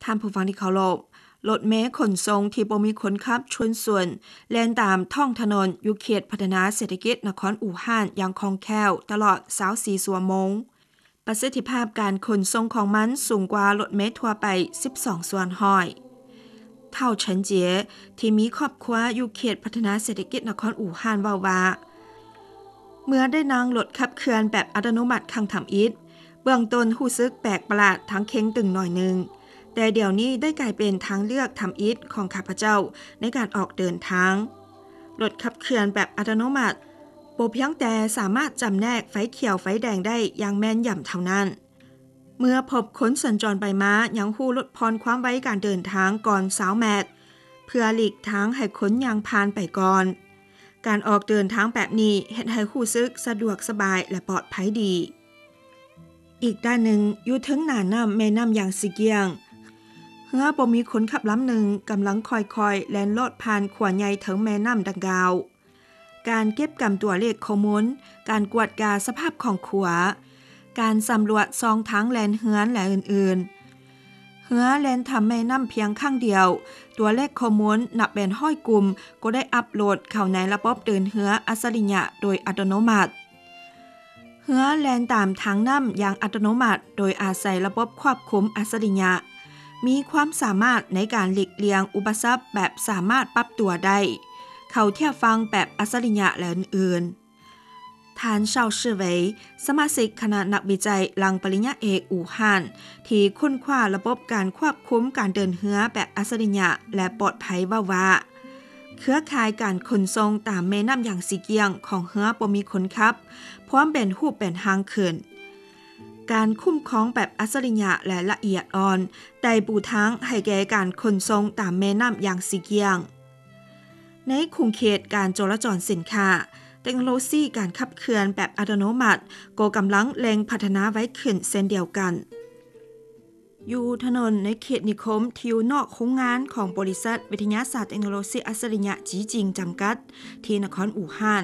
ທ່ານຜູ້ຟັງທີ່ເຄົາລົບ, ລົດເມຂົນສົ່ງທີ່ບໍ່ມີຄົນຂັບຊົນສ່ວນ ແລ່ນຕາມທ້ອງຖະໜົນຢູ່ເຂດພັດທະນາເສດຖະກິດນະຄອນອູ່ຮານຢ່າງຄ່ອງແຄ້ວຕະຫຼອດຊາວສີ່ຊົ່ວໂມງ. ປະສິດທິພາບການຂົນສົ່ງຂອງມັນສູງກວ່າລົດເມທົ່ວໄປສິບສອງສ່ວນຮ້ອຍ. ທ້າວເສີນເຈຍ ທີ່ມີຄອບຄົວຢູ່ເຂດພັດທະນາເສດຖະກິດນະຄອນອູ່ຮານເວົ້າວ່າ, ເມື່ອໄດ້ນັ່ງລົດຂັບເຄື່ອນແບບອັດຕະໂນມັດຄັ້ງທຳອິດ, ເບື້ອງຕົ້ນຮູ້ສຶກແປກປະຫຼາດທັງເຄັ່ງຕຶງໜ້ອຍໜຶ່ງ, ແຕ່ດຽວນີ້ໄດ້ກາຍເປັນທາງເລືອກທຳອິດຂອງຂ້າພະເຈົ້າໃນການອອກເດີນທາງ. ລົດຂັບເຄື່ອນແບບອັດຕະໂນມັດບໍ່ພຽງແຕ່ສາມາດຈຳແນກໄຟຂຽວໄຟແດງໄດ້ຢ່າງແມ່ນຢຳເທົ່ານັ້ນ, ເມື່ອພົບຄົນສັນຈອນໄປມາຍັງຮູ້ລົດຜ່ອນຄວາມໄວການເດີນທາງກ່ອນຊາວແມັດ ເພື່ອຫຼີກທາງໃຫ້ຄົນຍ່າງຜ່ານໄປກ່ອນ. ການອອກເດີນທາງແບບນີ້ເຮັດໃຫ້ຮູ້ສຶກສະດວກສະບາຍ ແລະ ປອດໄພດີ. ອີກດ້ານໜຶ່ງ, ຢູ່ເທິງໜ້ານ້ຳແມ່ນ້ຳຢາງຊີກຽງ, ເຮືອບໍ່ມີຄົນຂັບລຳໜຶ່ງກຳລັງຄ່ອຍໆແລ່ນລອດຜ່ານຂົວໃຫຍ່ເທິງແມ່ນ້ຳດັ່ງກ່າວ. ການເກັບກຳຕົວເລກຂໍ້ມູນ, ການກວດກາສະພາບຂອງຂົວ, ການສຳຫຼວດຊ່ອງທາງແລ່ນເຮືອນ ແລະ ອື່ນໆ. ເຮືອແລ່ນຂ້າມແມ່ນ້ຳພຽງຄັ້ງດຽວ, ຕົວເລກຂໍ້ມູນນັບເປັນຮ້ອຍກຸ່ມກໍໄດ້ອັບໂຫຼດເຂົ້າໃນລະບົບເດີນເຮືອອັດສະລິຍະໂດຍອັດຕະໂນມັດ. ເຮືອແລ່ນຕາມທາງນ້ຳຢ່າງອັດຕະໂນມັດໂດຍອາໄສລະບົບຄວບຄຸມອັດສະລິຍະ, ມີຄວາມສາມາດໃນການຫຼີກລ່ຽງອຸປະສັກແບບສາມາດປັບຕົວໄດ້, ເຂົ້າທຽບຝັ່ງແບບອັດສະລິຍະ ແລະ ອື່ນໆ. ທ່ານ ຊາວ ຊິເຫວີຍ ສະມາຊິກຄະນະນັກວິໄຈຫຼັງປະລິນຍາເອກອູ່ຮານ ທີ່ຄົ້ນຄວ້າລະບົບການຄວບຄຸມການເດີນເຮືອແບບອັດສະລິຍະ ແລະ ປອດໄພ ເວົ້າວ່າ, ເຄືອຂ່າຍການຂົນສົ່ງຕາມແມ່ນ້ຳຢາງຊີກຽງຂອງເຮືອບໍ່ມີຄົນຂັບ ພວມເປັນຮູບເປັນຮ່າງຂຶ້ນ. ການຄຸ້ມຄອງແບບອັດສະລິຍະ ແລະ ລະອຽດອ່ອນ ໄດ້ປູທາງໃຫ້ແກ່ການຂົນສົ່ງຕາມແມ່ນ້ຳຢາງຊີກຽງ. ໃນຂົງເຂດການຈໍລະຈອນສິນຄ້າ, ເຕັກໂນໂລຊີການຂັບເຄື່ອນແບບອັດຕະໂນມັດກໍກຳລັງເລັ່ງພັດທະນາໄວຂຶ້ນເຊັ່ນດຽວກັນ. ຢູ່ຖະໜົນໃນເຂດນິຄົມທີ່ຢູ່ນອກໂຮງງານຂອງບໍລິສັດວິທະຍາສາດເຕັກໂນໂລຊີອັດສະລິຍະຈີຈິງຈຳກັດ ທີ່ນະຄອນອູ່ຮານ,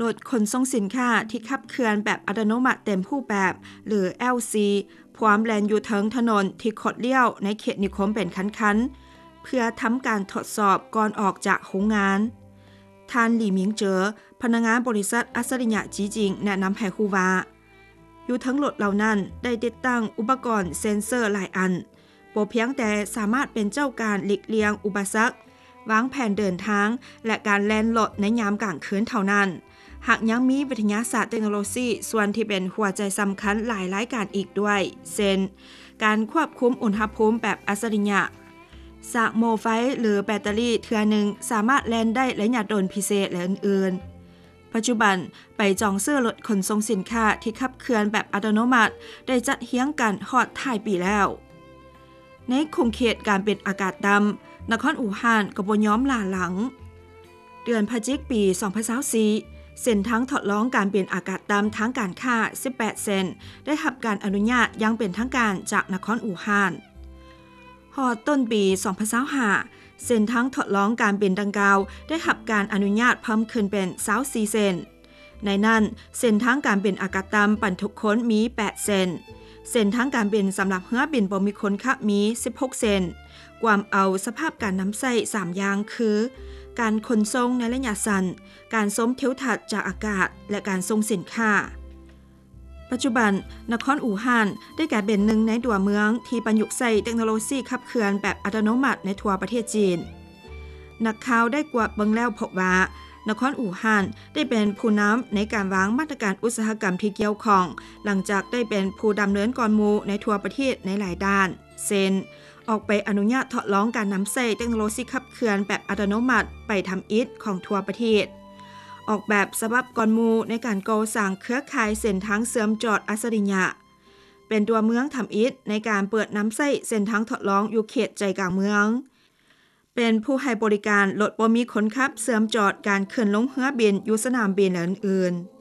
ລົດຂົນສົ່ງສິນຄ້າທີ່ຂັບເຄື່ອນແບບອັດຕະໂນມັດເຕັມຮູບແບບ ຫຼື ແອວຊີ ພວມແລ່ນຢູ່ເທິງຖະໜົນທີ່ຄົດລ້ຽວໃນເຂດນິຄົມເປັນຄັນໆ ເພື່ອທຳການທົດສອບກ່ອນອອກຈາກໂຮງງານ. ທ່ານ ຫຼີ ມິງເຈີ ພະນັກງານບໍລິສັດອັດສະລິຍະຈີຈິງ ແນະນຳໃຫ້ຮູ້ວ່າ, ຢູ່ເທິງລົດເຫຼົ່ານັ້ນໄດ້ຕິດຕັ້ງອຸປະກອນເຊັນເຊີຫຼາຍອັນ, ບໍ່ພຽງແຕ່ສາມາດເປັນເຈົ້າການຫຼີກລ່ຽງອຸປະສັກ, ວາງແຜນເດີນທາງ ແລະ ການແລ່ນລົດໃນຍາມກາງຄືນເທົ່ານັ້ນ, ຫາກຍັງມີວິທະຍາສາດເຕັກໂນໂລຊີສ່ວນທີ່ເປັນຫົວໃຈສຳຄັນຫຼາຍລາຍການອີກດ້ວຍ, ເຊັ່ນ ການຄວບຄຸມອຸນຫະພູມແບບອັດສະລິຍະ, ສະໂມໄຟ ຫຼື ແບັດເຕີຣີເທື່ອໜຶ່ງສາມາດແລ່ນໄດ້ໄລຍະດົນພິເສດ ແລະ ອື່ນໆ. ປັດຈຸບັນ, ໃບຈອງຊື້ລົດຂົນສົ່ງສິນຄ້າທີ່ຂັບເຄື່ອນແບບອັດຕະໂນມັດໄດ້ຈັດຮຽງກັນຮອດທ້າຍປີແລ້ວ. ໃນຂົງເຂດການບິນອາກາດຕ່ຳ, ນະຄອນອູ່ຮານກໍບໍ່ຍອມຫຼ້າຫຼັງ. ເດືອນພະຈິກປີສອງພັນຊາວສີ່, ເສັ້ນທາງທົດລອງການບິນອາກາດຕ່ຳທາງການຄ້າສິບແປດເສັ້ນ ໄດ້ຮັບການອະນຸຍາດຢ່າງເປັນທາງການຈາກນະຄອນອູ່ຮານ. ຮອດຕົ້ນປີສອງພັນຊາວຫ້າ, ເສັ້ນທາງທົດລອງການບິນດັ່ງກ່າວໄດ້ຮັບການອະນຸຍາດເພີ່ມຂຶ້ນເປັນຊາວສີ່ເສັ້ນ. ໃນນັ້ນ, ເສັ້ນທາງການບິນອາກາດຕ່ຳບັນທຸກຄົນມີແປດເສັ້ນ, ເສັ້ນທາງການບິນສຳລັບເຮືອບິນບໍ່ມີຄົນຂັບມີສິບຫົກເສັ້ນ, ກວມເອົາສະພາບການນຳໃຊ້ສາມຢ່າງຄື ການຂົນສົ່ງໃນໄລຍະສັ້ນ, ການຊົມທິວທັດຈາກອາກາດ ແລະ ການສົ່ງສິນຄ້າ. ປັດຈຸບັນ, ນະຄອນອູ່ຮານໄດ້ກາຍເປັນໜຶ່ງໃນຕົວເມືອງທີ່ປະຍຸກໃຊ້ເຕັກໂນໂລຊີຂັບເຄື່ອນແບບອັດຕະໂນມັດໃນທົ່ວປະເທດຈີນ. ນັກຂ່າວໄດ້ກວດເບິ່ງແລ້ວພົບວ່າ, ນະຄອນອູ່ຮານໄດ້ເປັນຜູ້ນຳໃນການວາງມາດຕະການອຸດສາຫະກຳທີ່ກ່ຽວຂ້ອງ, ຫຼັງຈາກໄດ້ເປັນຜູ້ດຳເນີນກ່ອນໝູ່ໃນທົ່ວປະເທດໃນຫຼາຍດ້ານ, ເຊັ່ນ ອອກໃບອະນຸຍາດທົດລອງການນຳໃຊ້ເຕັກໂນໂລຊີຂັບເຄື່ອນແບບອັດຕະໂນມັດໃບທຳອິດຂອງທົ່ວປະເທດ, ອອກແບບສະບັບກ່ອນໝູ່ໃນການກໍ່ສ້າງເຄືອຂ່າຍເສັ້ນທາງເຊື່ອມຈອດອັດສະລິຍະ, ເປັນຕົວເມືອງທຳອິດໃນການເປີດນຳໃຊ້ເສັ້ນທາງທົດລອງຢູ່ເຂດໃຈກາງເມືອງ, ເປັນຜູ້ໃຫ້ບໍລິການລົດບໍ່ມີຄົນຂັບເຊື່ອມຈອດການຂຶ້ນລົງເຮືອບິນຢູ່ສະໜາມບິນ ແລະ ອື່ນໆ.